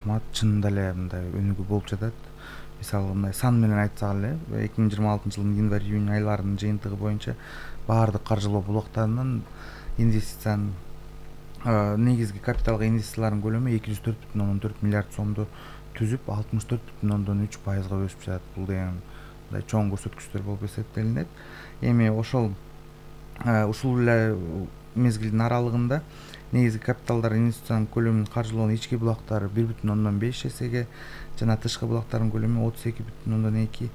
рахмат. Чынында эле мындай өнүгүү болуп жатат. Мисалы мындай сан менен айтсак эле 2026-жылдын январь-июнь айларынын жыйынтыгы боюнча баардык каржылоо булактарынын инвестициянын негизги капиталга инвестициялардын көлөмү 204,4 миллиард сомду түзүп 64,3%га өсүп жатат. Бул деген мындай чоң көрсөткүчтөр болуп эсептелинет. Эми ушул эле мезгилдин аралыгында негизги капиталдар инвестициянын көлөмүн каржылоонун ички булактары 1,5 эсеге жана тышкы булактардын көлөмү 32,2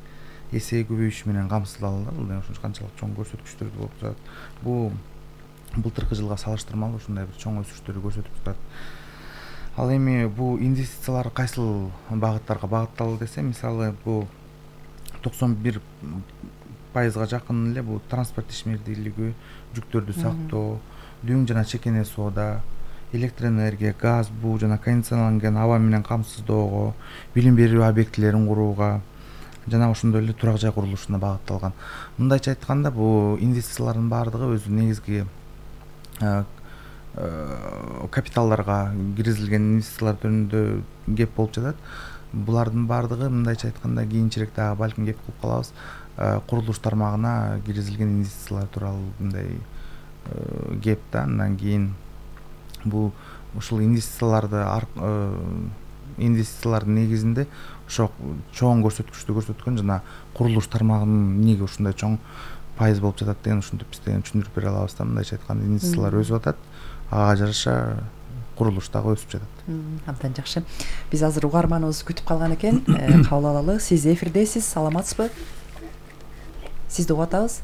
эсеге көбөйүшү менен камсыздалды. Бул деген ушунча канчалык чоң көрсөткүчтөр болуп жатат. Бул былтыркы жылга салыштырмалуу ушундай бир чоң өсүштөрдү көрсөтүп турат. Ал эми бул инвестициялар кайсыл багыттарга багытталды десе, мисалы бул 91%га жакын эле бул транспорт ишмердүүлүгү, жүктөрдү сактоо, дүң жана чекене соода, электр энергия, газ, буу жана кондиционерланган аба менен камсыздоого, билим берүү объектилерин курууга жана ошондой эле турак жай курулушуна багытталган. Мындайча айтканда, бул инвестициялардын баардыгы өзү негизги капиталдарга киргизилген инвестициялар жөнүндө кеп болуп жатат. Булардын баардыгы мындайча айтканда кийинчерээк дагы балким кеп кылып калабыз. Курулуш тармагына киргизилген инвестициялар тууралуу мындай кеп да. Андан кийин бул ушул инвестициялардын негизинде ошо чоң көрсөткүчтү көрсөткөн жана курулуш тармагынын эмнеге ушундай чоң пайыз болуп жатат деген ушинтип биз деген түшүндүрүп бере алабыз да. Мындайча айтканда инвестициялар өсүп атат, ага жараша курулуш дагы өсүп жатат. Абдан жакшы. Биз азыр угарманыбыз күтүп калган экен. Кабыл алалы. Сиз эфирдесиз, саламатсызбы? Сизди угуп атабыз.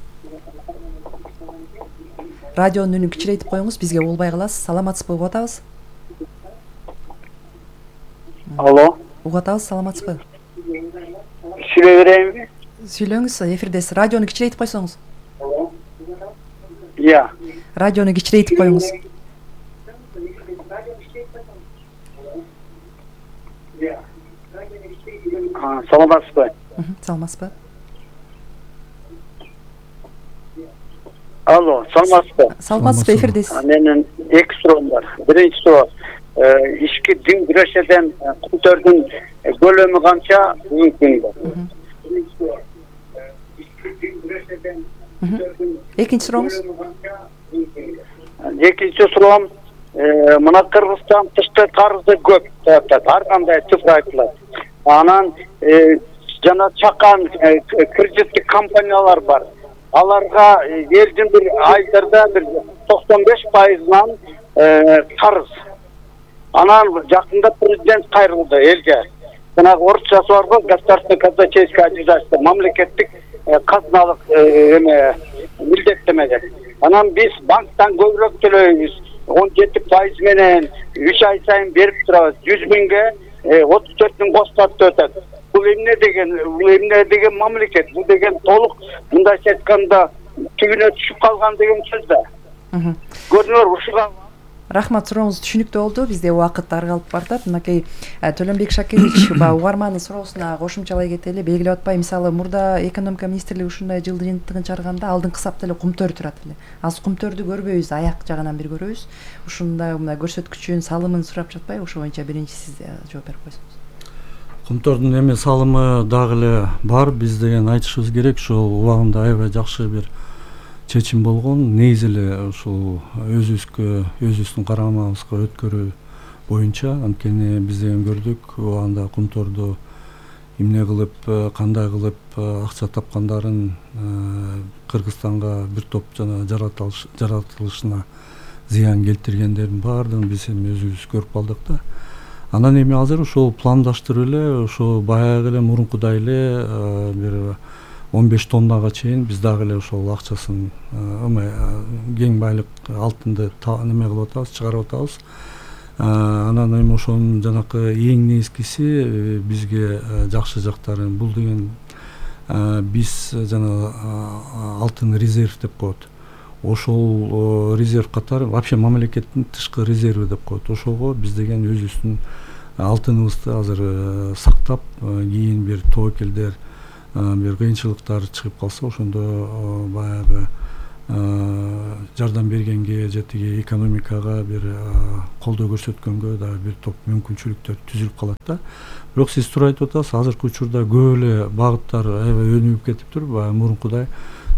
Радионун үнүн кичирейтип коюңуз, бизге болбой каласыз. Саламатсызбы, угуп атабыз? Алло. Угуп атабыз, саламатсызбы? Сүйлөй берейинби? Сүйлөңүз, эфирдесиз. Радиону кичирейтип койсоңуз. Иә. Радиону кичирейтип коюңуз. Саламатсызбы? Саламатсызбы? Алло, саламатсызбы? Саламатсызбы, эфирдесиз. Менин эки суроом бар. Биринчи суроо, ички дин күрөшеден кумтөрдүн көлөмү канча бүгүнкү күндө? Экинчи сурооңуз? Экинчи суроом, мына Кыргызстан тышкы карызы көп деп атат. Ар кандай цифра айтылат. Анан жана чакан кредиттик компаниялар бар. Аларга элдин бир айдарда бир 95%-нан карыз. Анан жакында президент кайрылды элге. Жанагы орусчасы бар го, государственное казначейское обязательство, мамлекеттик казыналык милдеттеме деп. Анан биз банктан көбүрөөк төлөйбүз. 17% менен 3 ай сайын берип турабыз. 100 миңге 34 миң костатып өтөт. Бул эмне деген мамлекет, бул деген толук мындайча айтканда түбүнө түшүп калган деген сөз да. Көрдүңөр ушуга. Рахмат, сурооңуз түшүнүктүү болду. Бизде убакыт аргалып бартат. Мынакей Төлөнбек Шакирович угармандын суроосуна кошумчалай кетели. Белгилеп атпай, мисалы мурда экономика министрлиги ушундай жылдын жыйынтыгын чыгарганда алдыңкы сапта эле кумтөр турат эле. Азыр кумтөрдү көрбөйбүз, аяк жагынан бир көрөбүз. Ушундай мындай көрсөткүчүн, салымын сурап жатпайбы? Ошо боюнча биринчи сиз жооп берип койсоңуз. Кумтордун эми салымы дагы эле бар. Биз деген айтышыбыз керек, ушул убагында аябай жакшы бир чечим болгон. Негизи эле ушул өзүбүздүн карамабызга өткөрүү боюнча, анткени биз деген көрдүк убагында кумторду эмне кылып, кандай кылып акча тапкандарын, Кыргызстанга бир топ жана жаратылышына зыян келтиргендердин баардыгын биз эми өзүбүз көрүп калдык да. Анан эми азыр ошол пландаштырып эле, ошо баягы эле мурункудай эле бир 15 тоннага чейин биз дагы эле ошол акчасын кең байлык алтынды неме кылып атабыз, чыгарып атабыз. Анан эми ошонун жанакы эң негизгиси бизге жакшы жактары бул деген биз жана алтын резерв деп коет. Ошол резерв катары вообще мамлекеттин тышкы резерви деп коет. Ошого биз деген өзүбүздүн алтыныбызды азыр сактап, кийин бир тобокелдер бир кыйынчылыктар чыгып калса, ошондо баягы жардам бергенге же тиги экономикага бир колдоо көрсөткөнгө дагы бир топ мүмкүнчүлүктөр түзүлүп калат да. Бирок сиз туура айтып атасыз, азыркы учурда көп эле багыттар аябай өнүгүп кетиптир. Баягы мурункудай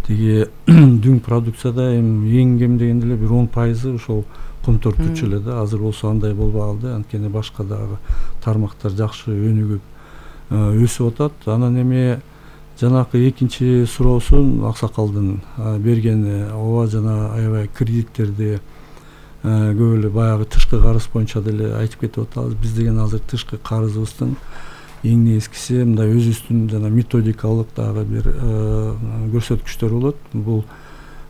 тиги дүң продукцияда эң кем дегенде эле бир 10% ошол комтор түчү эле да. Азыр болсо андай болбой калды, анткени башка дагы тармактар жакшы өнүгүп өсүп атат. Анан эми жанакы экинчи суроосун аксакалдын бергени ооба, жана аябай кредиттерди көп эле баягы тышкы карыз боюнча деле айтып кетип атабыз. Биз деген азыр тышкы карызыбыздын эң негизгиси мындай өзүбүздүн жана методикалык дагы бир көрсөткүчтөр болот. Бул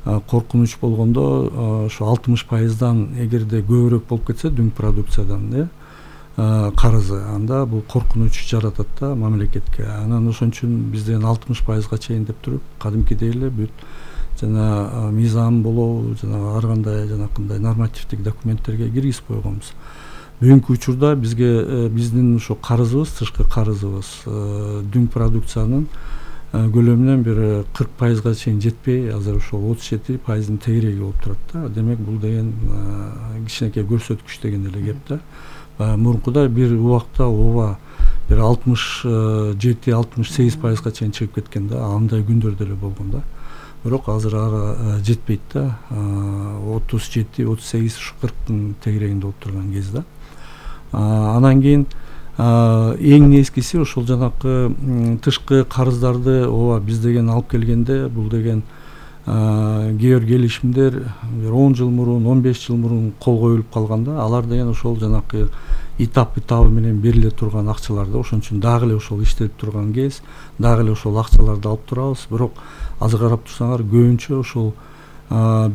коркунуч болгондо ошо 60%дан эгерде көбүрөөк болуп кетсе дүң продукциядан карызы, анда бул коркунуч жаратат да мамлекетке. Анан ошон үчүн биз деген 60%га чейин деп туруп кадимкидей эле бүт жана мыйзам болобу жана ар кандай жанакындай нормативдик документтерге киргизип койгонбуз. Бүгүнкү учурда бизге биздин ошо карызыбыз, тышкы карызыбыз дүң продукциянын көлөмүнөн бир 40%га чейин жетпей, азыр ошол 37%-ын тегереги болуп турат да. Демек бул деген кичинекей көрсөткүч деген эле кеп да. Мурункудай бир убакта ооба бир 67-68%га чейин чыгып кеткен да. Андай күндөр деле болгон да. Бирок азыр ага жетпейт да. 37-38 ушу 40-тын тегерегинде болуп турган кез да. Анан кийин эң негизгиси ошол жанакы тышкы карыздарды ооба биз деген алып келгенде бул деген кээ бир келишимдер 10 жыл мурун, 15 жыл мурун кол коюлуп калганда, алар деген ошол жанакы этап менен бериле турган акчалар да. Ошон үчүн дагы эле ошол иштелип турган кез, дагы эле ошол акчаларды алып турабыз. Бирок азыр карап турсаңар көбүнчө ошол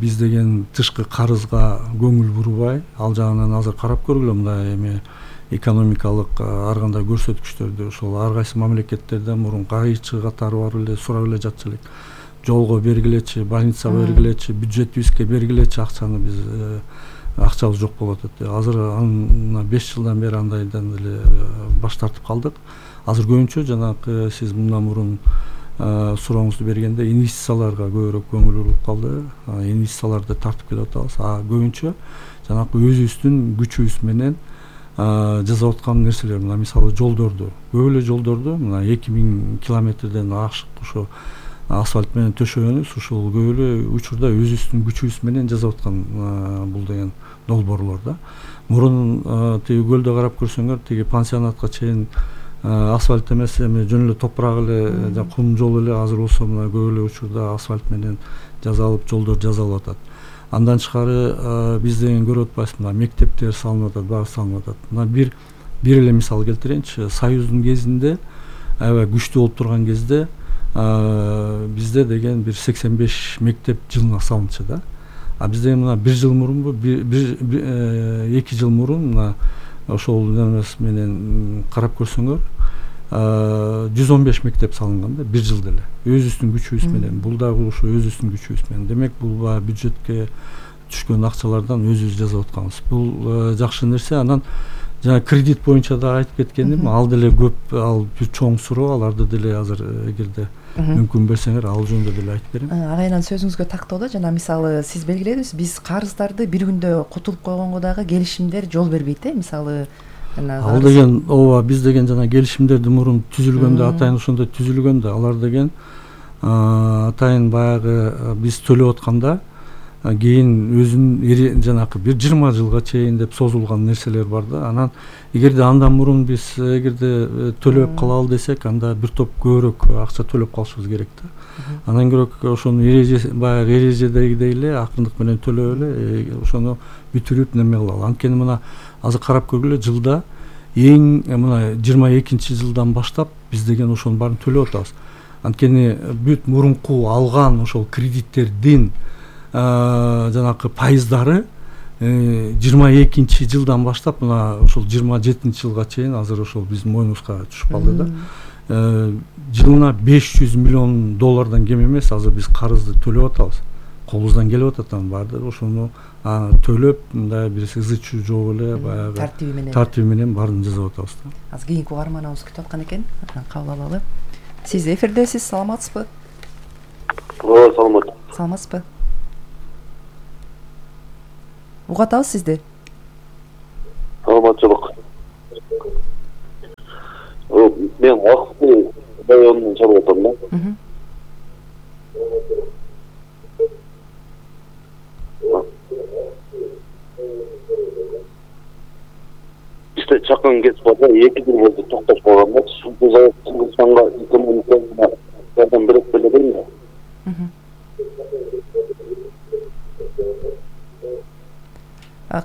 биз деген тышкы карызга көңүл бурбай, ал жагынан азыр карап көргүлө мындай эми экономикалык ар кандай көрсөткүчтөрдү ошол ар кайсы мамлекеттерде мурун кайчы катары барып эле сурап эле жатчу элек. Жолго бергилечи, больницага бергилечи, бюджетибизге бергилечи акчаны, биз акчабыз жок болуп атат. Азыр 5 жылдан бери андайдан эле баш тартып калдык. Азыр көбүнчө жанакы сиз мындан мурун сурооңузду бергенде инвестицияларга көбүрөөк көңүл буруп калды. Инвестицияларды тартып келип атабыз. Көбүнчө жанакы өзүбүздүн күчүбүз менен жасап аткан нерселер, мына мисалы жолдорду, көп эле жолдорду мына 2000 километрден ашык ошо асфальт менен төшөгөнүбүз, ушул көп эле учурда өзүбүздүн күчүбүз менен жасап аткан бул деген долбоорлор да. Мурун тиги көлдө карап көрсөңөр, тиги пансионатка чейин асфальт эмес, эми жөн эле топурак эле, кум жол эле. Азыр болсо мына көп эле учурда асфальт менен жасалып, жолдор жасалып атат. Андан тышкары биз деген көрүп атпайбызбы, мына мектептер салынып атат, баары салынып атат. Мына бир эле мисал келтирейинчи. Союздун кезинде аябай күчтүү болуп турган кезде бизде деген бир 85 мектеп жылына салынчу да. Биз деген мына 1 жыл мурунбу, 2 жыл мурун мына ошол немес менен карап көрсөңөр 115 мектеп салынган да 1 жылда эле. Өзүбүздүн күчүбүз менен. Бул дагы ошо өзүбүздүн күчүбүз менен. Демек бул бюджетке түшкөн акчалардан өзүбүз жасап атканбыз. Бул жакшы нерсе. Анан жана кредит боюнча да айтып кеткеним, ал деле көп, ал бир чоң суроо, аларды деле азыр эгерде мүмкүн берсеңер ал жөнүндө деле айтып берем. Агайынан сөзүңүзгө тактоодо жана мисалы сиз белгиледиңиз, биз карыздарды бир күндө кутулуп койгонго дагы келишимдер жол бербейт мисалы. Ал деген ооба, биз деген жана келишимдерди мурун түзүлгөндө атайын ошондой түзүлгөндө, алар деген атайын баягы биз төлөп атканда кийин өзүнүн жанакы бир 20 жылга чейин деп созулган нерселер бар да. Анан эгерде андан мурун биз эгерде төлөп калалы десек, анда бир топ көбүрөөк акча төлөп калышыбыз керек да. Анан көрөк ошону баягы эрежедегидей эле акырындык менен төлөп эле ошону бүтүрүп неме кылалы. Анткени мына азыр карап көргүлө, жылда эң мына 22 жылдан баштап биз деген ошонун баарын төлөп атабыз. Анткени бүт мурунку алган ошол кредиттердин жанакы пайыздары 22 жылдан баштап мына ошол 27 жылга чейин азыр ошол биздин мойнубузга түшүп калды да. Жылына $500 миллион кем эмес азыр биз карызды төлөп атабыз. Колубуздан келип атат анын баардыгы. Ошону төлөп мындай бир ызы чуу жок эле баягы тартиби менен баарын жасап атабыз да. Азыр кийинки угарманыбыз күтүп аткан экен. Кабыл алалы. Сиз эфирдесиз, саламатсызбы? Ооба, саламатсызбы. угуп атабыз сизди. Саламатчылык. Мен акты районунан чалып атам да. İşte çakın geç vardı, 2 yıl oldu toktop kалганда, bu завод Кыргызстанга экономикага жардам берет беле дейм.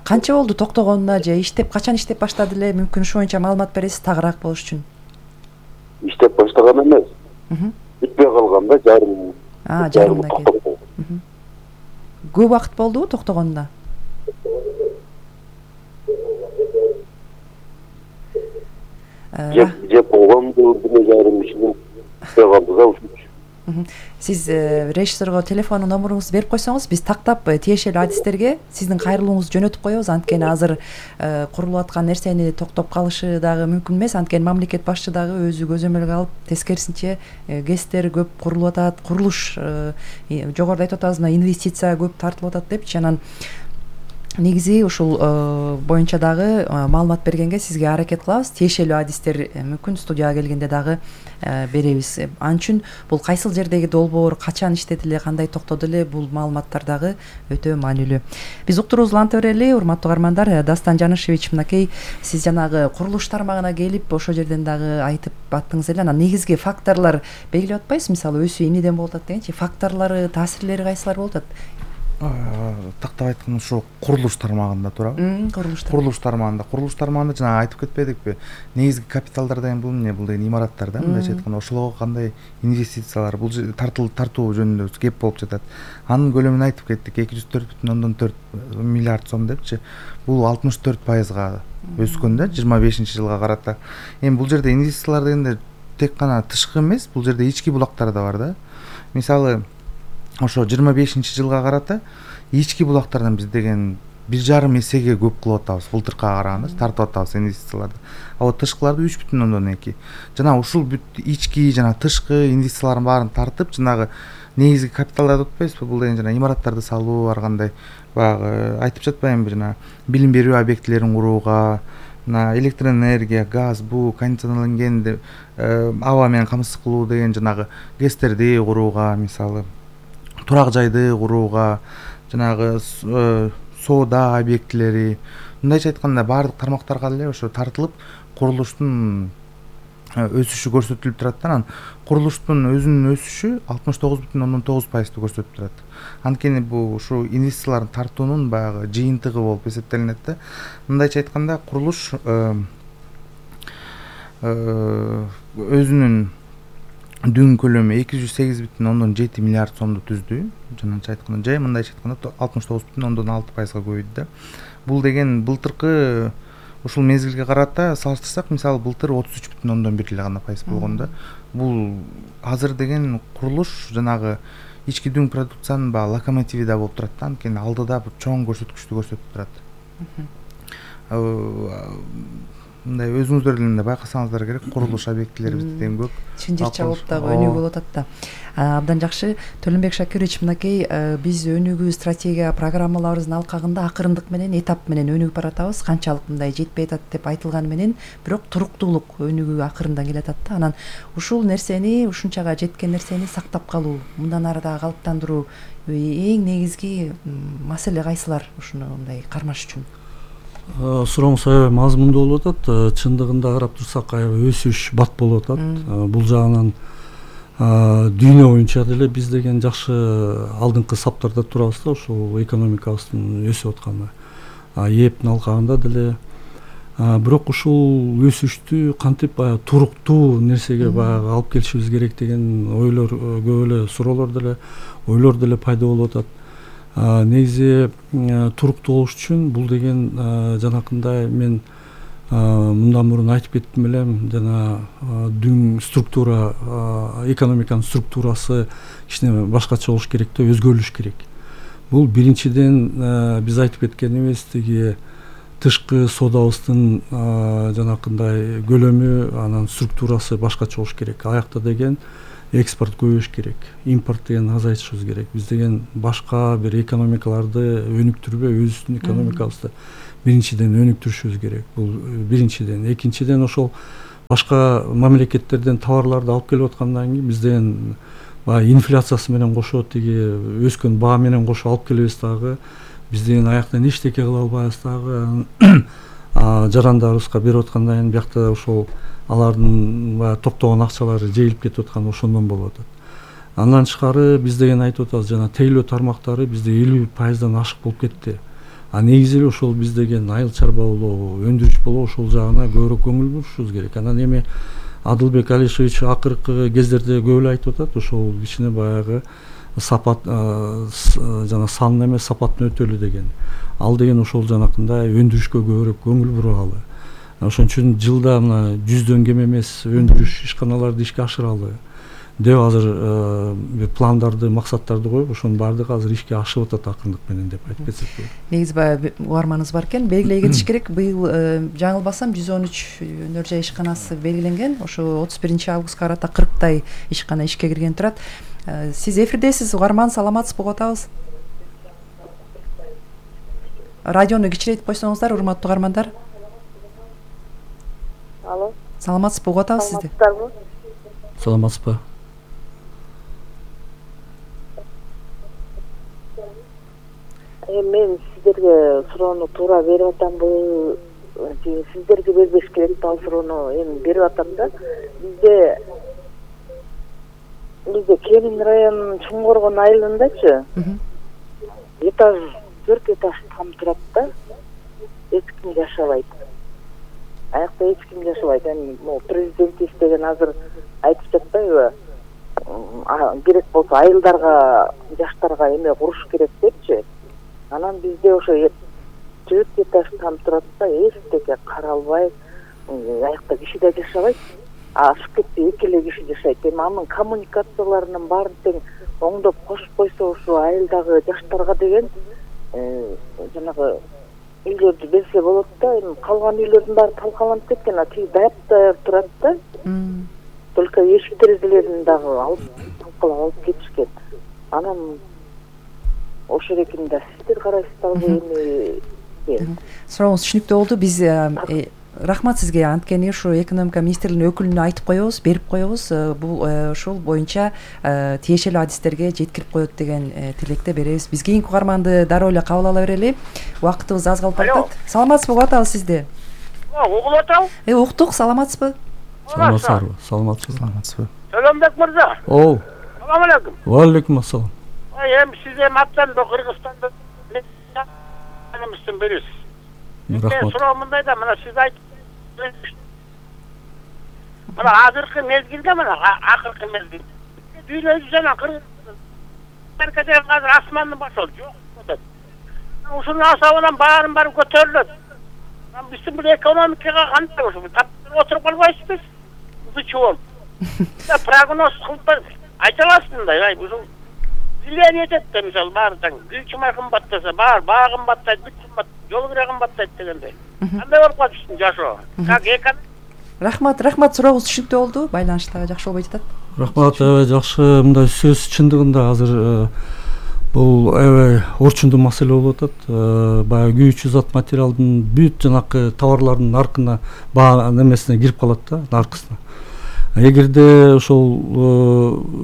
Канча болду токтогонуна же качан иштеп баштады эле? Мүмкүн ушу боюнча маалымат бересиз тагыраак болуш үчүн. İşte başlagan emес. Bitпей калганда жарымдан кийин. Көп убакыт болдубу токтогонуна? Жеп болгонду 1,5 жыл bitпей калды да ушул. Сиз режиссерго телефон номеруңузду берип койсоңуз, биз тактап тиешелүү адистерге сиздин кайрылууңузду жөнөтүп коебуз. Анткени азыр курулуп аткан нерсени токтоп калышы дагы мүмкүн эмес. Анткени мамлекет башчы дагы өзү көзөмөлгө алып, тескерисинче ГЭСтер көп курулуп атат, курулуш жогоруда айтып атабыз, инвестиция көп тартылып атат депчи. Анан негизи ушул боюнча дагы маалымат бергенге сизге аракет кылабыз. Тиешелүү адистер мүмкүн студияга келгенде дагы беребиз. Ал үчүн бул кайсыл жердеги долбоор, качан иштеди эле, кандай токтоду эле, бул маалыматтар дагы өтө маанилүү. Биз уктуруубузду уланта берели, урматтуу каармандар. Дастан Жанышевич, мынакей сиз жанагы курулуш тармагына келип, ошол жерден дагы айтып аттыңыз эле. Анан негизги факторлор белгилеп атпайсыз? Мисалы өсүү эмнеден болуп атат дегенчи, факторлору, таасирлери кайсылар болуп атат? Тактап айтканда ушул курулуш тармагында турабы? Курулуш тармагында жана айтып кетпедикпи? Негизги капиталдар деген бул эмне? Бул деген имараттар да, мындайча айтканда. Ошолорго кандай инвестициялар, бул тартуу жөнүндө кеп болуп жатат. Анын көлөмүн айтып кеттик, 204,4 миллиард сом депчи. Бул 64% өскөн да 25-жылга карата. Эми бул жерде инвестициялар дегенде тек гана тышкы эмес, бул жерде ички булактар да бар да. Мисалы ошо 25-жылга карата ички булактардан биз деген 1,5 эсеге көп кылып атабыз, былтыркыга караганда тартып атабыз инвестицияларды. А вот тышкыларды 3,2. Жана ушул ички жана тышкы инвестициялардын баарын тартып, жанагы негизги капиталдарды утпайсызбы? Бул деген жана имараттарды салуу, ар кандай баягы айтып жатпаймынбы, жана билим берүү объектилерин курууга, электр энергия, газ, буу кондиционерленген аба менен камсыз кылуу деген жанагы ГЭСтерди курууга, мисалы турак жайды курууга, жанагы соода объектилери, мындайча айтканда баардык тармактарга эле ошо тартылып, курулуштун өсүшү көрсөтүлүп турат да. Анан курулуштун өзүнүн өсүшү 69,9% көрсөтүп турат. Анткени бул ушу инвестициялардын тартуунун баягы жыйынтыгы болуп эсептелинет да. Мындайча айтканда курулуш өзүнүн дүң көлөмү 208,7 миллиард сомду түздү. Жанагыча айтканда, же мындайча айтканда 69,6%га көбөйдү да. Бул деген былтыркы ушул мезгилге карата салыштырсак, мисалы былтыр 33,1 эле гана пайыз болгон да. Бул азыр деген курулуш жанагы ички дүң продукциянын баягы локомотиви да болуп турат да. Анткени алдыда бир чоң көрсөткүчтү көрсөтүп турат. Мындай өзүңүздөр деле байкасаңыздар керек, курулуш объектилерибизде тең көп. Чын жер чабып дагы өнүгүп болуп атат да. Абдан жакшы. Төлөнбек Шакирович, мынакей биз өнүгүү стратегия программаларыбыздын алкагында акырындык менен, этап менен өнүгүп баратабыз. Канчалык мындай жетпей атат деп айтылганы менен, бирок туруктуулук өнүгүү акырындан келатат да. Анан ушул нерсени, ушунчага жеткен нерсени сактап калуу, мындан ары дагы калыптандыруу эң негизги маселе кайсылар ушуну мындай кармаш үчүн? Сурооңуз аябай мазмундуу болуп атат. Чындыгында карап турсак, аябай өсүш бат болуп атат. Бул жагынан дүйнө боюнча деле биз деген жакшы алдыңкы саптарда турабыз да, ушул экономикабыздын өсүп атканы. ЕЭПтин алкагында деле. Бирок ушул өсүштү кантип баягы туруктуу нерсеге баягы алып келишибиз керек деген ойлор, көп эле суроолор деле, ойлор деле пайда болуп атат. Негизи туруктуу болуш үчүн бул деген жанакындай мен мындан мурун айтып кеттим элем, жана дүң структура, экономиканын структурасы кичине башкача болуш керек да, өзгөрүлүш керек. Бул биринчиден биз айтып кеткенибиз, тиги тышкы соодабыздын жанакындай көлөмү, анан структурасы башкача болуш керек. Аякта деген экспорт көбөйүш керек, импорт деген азайтышыбыз керек. Биз деген башка бир экономикаларды өнүктүрбөй өзүбүздүн экономикабызды биринчиден өнүктүрүшүбүз керек. Бул биринчиден. Экинчиден ошол башка мамлекеттерден товарларды алып келип аткандан кийин биз деген баягы инфляциясы менен кошо тиги өскөн баа менен кошо алып келебиз дагы. Биз деген аяктан эчтеке кыла албайбыз дагы. Жарандарыбызга берип аткандан кийин биякта ошол алардын баягы топтогон акчалары жейилип кетип атканы ошондон болуп атат. Андан тышкары биз деген айтып атабыз, жана тейлөө тармактары бизде 50%дан ашык болуп кетти. Негизи эле ошол биз деген айыл чарба болобу, өндүрүш болобу ошол жагына көбүрөөк көңүл бурушубуз керек. Анан эми Адылбек Алишевич акыркы кездерде көп эле айтып атат, ошол кичине баягы сапат жана сан эмес сапаттын өтөлү деген. Ал деген ошол жанакындай өндүрүшкө көбүрөөк көңүл буралы. Ошон үчүн жылда мына 100дөн кем эмес өндүрүш ишканаларды ишке ашыралы деп азыр пландарды, максаттарды коюп, ошонун баардыгы азыр ишке ашып атат акырындык менен деп айтып кетсек болот. Негизи баягы угарманыбыз бар экен, белгилей кетиш керек. Быйыл жаңылбасам 113 өнөр жай ишканасы белгиленген. Ошо 31-августка карата 40тай ишкана ишке кирген турат. Сиз эфирдесиз, угарман, саламатсызбы, угуп атабыз. Радиону кичирейтип койсоңуздар, урматтуу угармандар. Алло. Саламатсызбы, угуп атабыз сизди. Саламатсызбы? Мен сиздерге суроону туура берип атамбы, сиздерге бербеш керек ал суроону эми берип атам да. Бизде Кемин районунун Чоңгоргон айылындачы этаж 4 этаж там турат да. Эч ким жашабайт. Аякта эч ким жашабайт. Эми президент деген азыр айтып жатпайбы? Керек болсо айылдарга, жаштарга эме куруш керек депчи. Анан бизде ошо 4 этаж там турат да, эчтеке каралбай, аякта киши да жашабайт. Ашып кетти, эки эле киши жашайт. Эми анын коммуникацияларынын баарын тең оңдоп кошуп койсо, ошо айылдагы жаштарга деген жанагы үйлөрдү берсе болот да. Эми калган үйлөрдүн баары талкаланып кеткен, тиги даяр турат да. Только эшик терезелерин дагы алып талкалап алып кетишкен. Анан ошол экен да, сиздер карайсыздарбы эми? Сурооңуз түшүнүктүү болду. Биз рахмат сизге. Анткени ушу экономика министрлигинин өкүлүнө айтып коебуз, берип коебуз. Бул ошол боюнча тиешелүү адистерге жеткирип коет деген тилекте беребиз. Биз кийинки угарманды дароо эле кабыл ала берели. Убактыбыз аз калып атат. Саламатсызбы, угуп атабыз сизди. Угуп атабыз. Уктук, саламатсызбы? Саламатсызбы? Саламатсызбы? Саламбек мырза. Салам алейкум. Ва алейкум ассалам. Эми сиз эми аттанды Кыргызстанда эместен бересиз. Мен суроо мындай да, мына сиз айтып, мына азыркы мезгилде, мына акыркы мезгилде дүйнөдө жана Кыргызстан азыр асмандын башы жок атат. Ушунун асабынан баарын баары көтөрүлөт. Биздин бул экономикага кандай ошо таптырып отуруп калбайсызбы? Зачем? Да прогноз кылып айта аласыз мындай, ушул влияние этет да, мисалы баары таң үй чымай кымбаттаса, баары баа кымбаттайт, бүт кымбат, жол кире кымбаттайт дегендей. Кандай болуп калыптыр жашоо? Как Рахмат, сурооңуз түшүнүктүү болду. Байланыштагы жакшы болбой жатат. Рахмат, жакшы. Мындай сөз чындыгында азыр бул орчундуу маселе болуп атат. Баягы күйүүчү зат материалдын бүт жанакы товарлардын наркына, баа немесине кирип калат да, наркысына. Эгерде ошол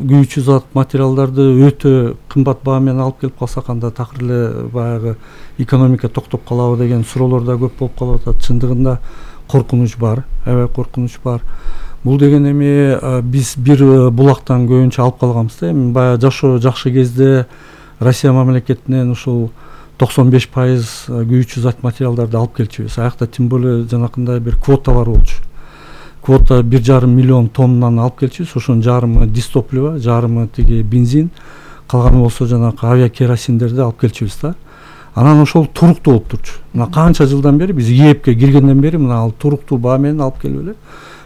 күйүүчү зат материалдарды өтө кымбат баа менен алып келип калсак, анда такыр эле баягы экономика токтоп калабы деген суроолор да көп болуп калып атат. Чындыгында коркунуч бар, аябай коркунуч бар. Бул деген эми биз бир булактан көбүнчө алып калганбыз да. Эми баягы жашоо жакшы кезде Россия мамлекетинен ушул 95% күйүүчү зат материалдарды алып келчүбүз. Аякта тем более жанакындай бир квота бар болчу. Квота 1,5 миллион тоннаны алып келчүбүз. Ошонун жарымы дистопливо, жарымы тиги бензин, калганы болсо жанакы авиакеросиндерди алып келчүбүз да. Анан ошол туруктуу болуп турчу. Мына канча жылдан бери биз ЕЭПке киргенден бери мына ал туруктуу баа менен алып келип эле.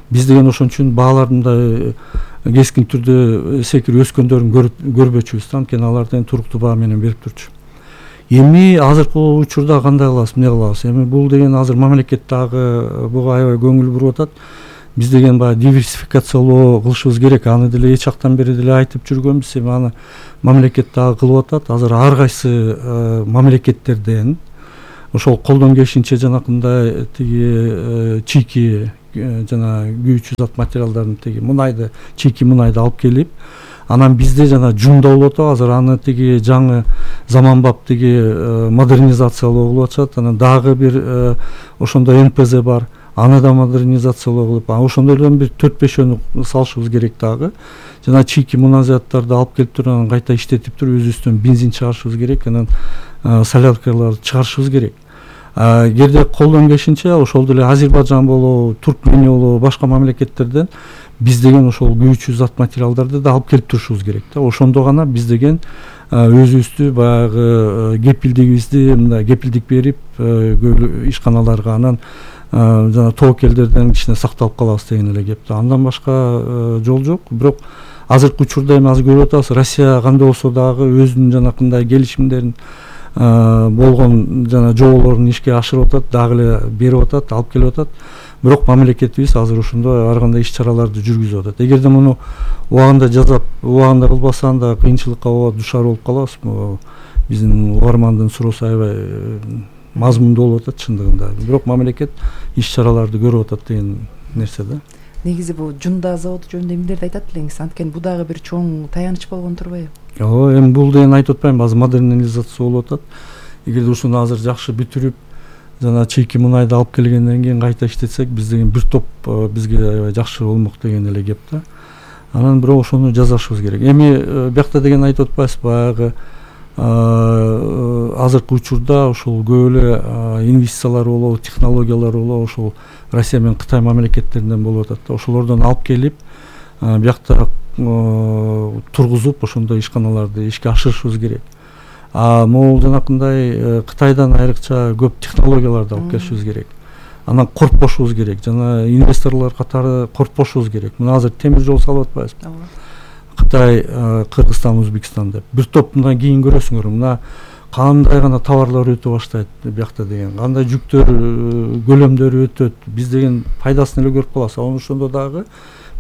Биз деген ошон үчүн баалардын да кескин түрдө секирип өскөндөрүн көрбөчүбүз да. Анткени алардын туруктуу баа менен берип турчу. Эми азыркы учурда кандай кылабыз, эмне кылабыз? Эми бул деген азыр мамлекет дагы буга аябай көңүл буруп атат. биз деген баягы диверсификациялоо кылышыбыз керек. Аны деле эч жактан бери деле айтып жүргөнбүз. Эми аны мамлекет дагы кылып атат. Азыр ар кайсы мамлекеттерден ошол колдон келишинче жанакындай тиги чийки жана күйүүчү зат материалдарын тиги мунайды, чийки мунайды алып келип, анан бизде жана жумда болуп атат. Азыр аны тиги жаңы заманбап тиги модернизациялоо кылып атышат. Анан дагы бир ошондой НПЗ бар. Аны да модернизациялоо кылып, ошондойдон бир 4-5 салышыбыз керек дагы. Жана чийки муназаттарды алып келип туруп, анан кайта иштетип туруп, өзүбүздөн бензин чыгарышыбыз керек, анан соляркаларды чыгарышыбыз керек. Эгерде колдон келишинче ошол деле Азербайжан болобу, Туркмения болобу, башка мамлекеттерден биз деген ошол күйүүчү зат материалдарды да алып келип турушубуз керек да. Ошондо гана биз деген өзүбүздү баягы кепилдигибизди мындай кепилдик берип ишканаларга, анан жана тобокелдерден кичине сакталып калабыз деген эле кеп да. Андан башка жол жок. Бирок азыркы учурда эми азыр көрүп атабыз, Россия кандай болсо дагы өзүнүн жанакындай келишимдерин болгон жана жоболорун ишке ашырып атат, дагы эле берип атат, алып келип атат. Бирок мамлекетибиз азыр ошондой ар кандай иш-чараларды жүргүзүп атат. Эгерде муну убагында жасап, убагында кылбаса, анда кыйынчылыкка душар болуп калабыз. Биздин угармандын суроосу аябай мазмундуу болуп атат чындыгында. Бирок мамлекет иш-чараларды көрүп атат деген нерсе да. Негизи бул Жунда заводу жөнүндө эмнелерди айтат элеңиз? Анткени бул дагы бир чоң таяныч болгон турбайбы? Ооба, эми бул деген айтып атпайм, азыр модернизация болуп атат. Эгерде ушуну азыр жакшы бүтүрүп, жана чийки мунайды алып келгенден кийин кайта иштетсек, биз деген бир топ бизге аябай жакшы болмок деген эле кеп да. Анан бирок ошону жасашыбыз керек. Эми биякта деген айтып атпайсыз, баягы азыркы учурда ошол көп эле инвестициялар болобу, технологиялар болобу, ошол Россия менен Кытай мамлекеттеринен болуп атат да. Ошолордон алып келип, биякта тургузуп, ошондой ишканаларды ишке ашырышыбыз керек. Могул жанакындай Кытайдан айрыкча көп технологияларды алып келишибиз керек. Анан коркпошубуз керек, жана инвесторлор катары коркпошубуз керек. Мына азыр темир жол салып атпайбызбы? Кытай, Кыргызстан, Өзбекстан деп. Бир топ мындан кийин көрөсүңөр, мына кандай гана товарлар өтө баштайт биякта деген, кандай жүктөр көлөмдөрү өтөт. Биз деген пайдасын эле көрүп калабыз. Ошондо дагы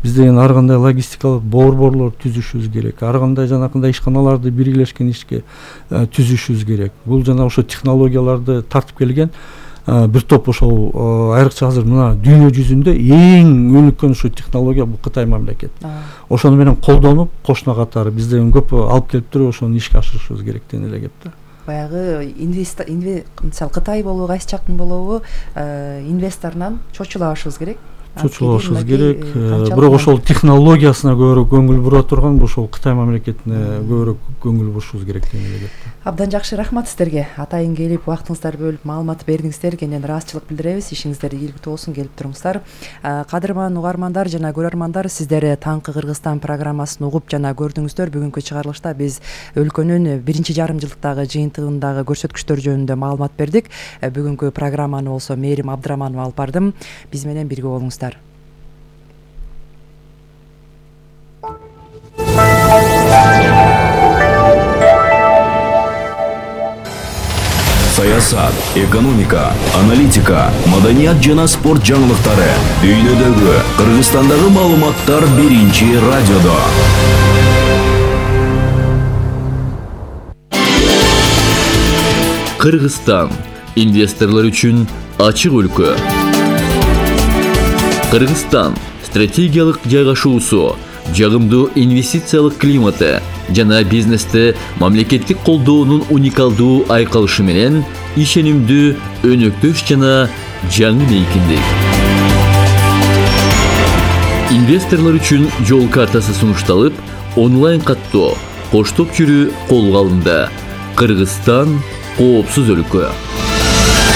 биз деген ар кандай логистикалык борборлор түзүшүбүз керек. Ар кандай жанакындай ишканаларды биргелешкен ишке түзүшүбүз керек. Бул жана ошо технологияларды тартып келген бир топ ошол айрыкча азыр мына дүйнө жүзүндө эң өнүккөн ошо технология бул Кытай мамлекет. Ошону менен колдонуп, кошуна катары биз деген көп алып келип туруп ошону ишке ашырышыбыз керек деген эле кеп да. Баягы мисалы Кытай болобу, кайсы жактын болобу, инвесторунан чочулабашыбыз керек. Чочулабашыбыз керек. Бирок ошол технологиясына көбүрөөк көңүл бура турган ошол Кытай мамлекетине көбүрөөк көңүл бурушубуз керек деген эле кеп. Абдан жакшы, рахмат сиздерге. Атайын келип, убактыңыздарды бөлүп, маалымат бердиңиздер. Кенен ыраазычылык билдиребиз. Ишиңиздер ийгиликтүү болсун, келип туруңуздар. Кадырман угармандар жана көрөрмандар, сиздер Таңкы Кыргызстан программасын угуп жана көрдүңүздөр. Бүгүнкү чыгарылышта биз өлкөнүн 1,5 жылдыктагы жыйынтыгындагы көрсөткүчтөр жөнүндө маалымат бердик. Бүгүнкү программаны болсо Мээрим Абдыраманова алып бардым. Биз менен бирге болуңуздар. Саясат, экономика, аналитика, маданият жана спорт жаңылыктары дүйнөдөгү, Кыргызстандагы маалыматтар биринчи радиодо. Кыргызстан инвесторлор үчүн ачык өлкө. Кыргызстан стратегиялык жайгашуусу, жагымдуу инвестициялык климаты жана бизнесте мамлекеттик колдоонун уникалдуу айкалышы менен ишенимдүү, өнөктөш жана жаңы мейкиндик. Инвесторлор үчүн жол картасы сунушталып, онлайн каттоо, коштоп жүрүү колго алынды. Кыргызстан коопсуз өлкө.